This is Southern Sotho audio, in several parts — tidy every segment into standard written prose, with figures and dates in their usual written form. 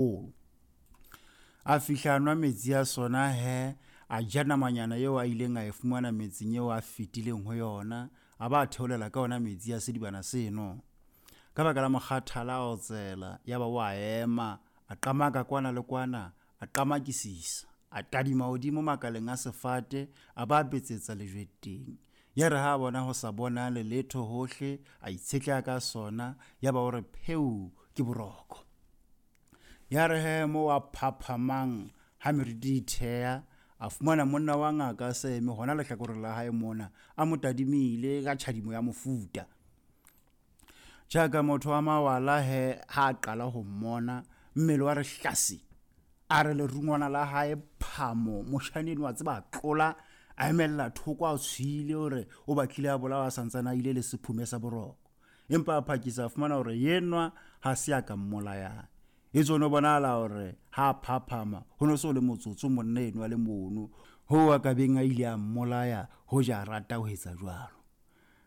Haholo. A fihla a nwa metsi a sona he, a ja namanyana eo a ileng a e fumana metseng eo a fetileng ho yona, a ba a theolela ka ona metsi a sedibana seno. Ka baka la mokgathala a otsela, yaba o a ema, a qamaka kwana le kwana, a qamakisisa, a tadima hodimo makaleng a sefate, a ba a betsetsa lejwe teng. Ya re ha a bona ho sa bonale letho hohle, a itshetleha ka sona, yaba o re pheu ke boroko. Ya re he moo a phaphamang ha meriti e thea, a fumana monna wa ngaka a se eme hona lehlakoreng la hae mona, a mo tadimile ka tjhadimo ya mofuta. Jaaka motho wa mawala he ha a qala ho mmona, mmele wa re hlasi, a re lerungwana la hae phamo, moshane enwa a tseba a tlola, a emella thoko a tshwile hore o batlile a bolawa a santsane a ile le sephume sa boroko. Empa a phakisa a fumana hore yenwa ha se a ka mmolayang. Etswe ho no bonahala hore ha a phaphama ho no se ho le motsotso monna enwa a le mono, hoo a ka beng a ile a mmolaya hoja a rata ho etsa jwalo.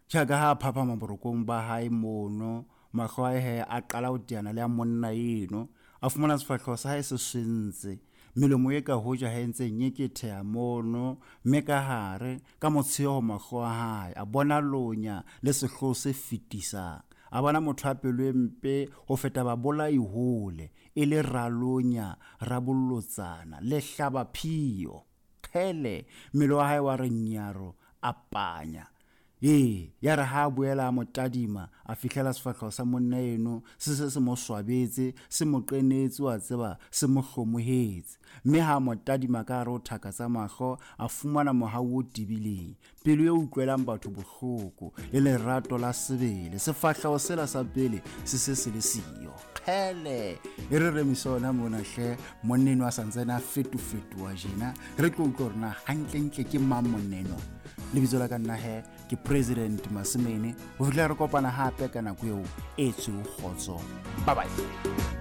Jaaka ha a phaphama borokong ba hae mono, mahlo a hae he a qala ho teana le a monna eno. A fumana sefahleho sa hae se swentse, melomo e ka hoja ha e ntse e nyeketheha mono, mme ka hare, ka motsheo ho mahlo a hae, a bona lonya le sehloho se fetisang. A bona motho a pelo e mpe ho feta babolai hole, e le ralonya, rabolotsana, lehlabaphio. Kgele, mmele wa hae wa re nyaro, a panya. Ee, ya re ha a boela a mo tadima, a fihlela sefahleho sa monna eno se se se mo swabetse, se mo qenetse, wa tseba, se mo hlomohetse. Mme ha a mo tadima ka hare ho thaka tsa mahlo, a fumana mohau o tebileng, pelo e utlwelang batho bohloko, le lerato la sebele. Sefahleho sela sa pele se se se le siyo. Kgele, e re remise ona mona hle, monna eno a sa ntsane a fetofetoha jena, re tlo utlwa hore na hantlentle ke mang monna eno. Lebitso la ka nna he ke President Masemene. Ho fihlela re kopana hape ka nako eo e tshweu kgotso. Bye bye.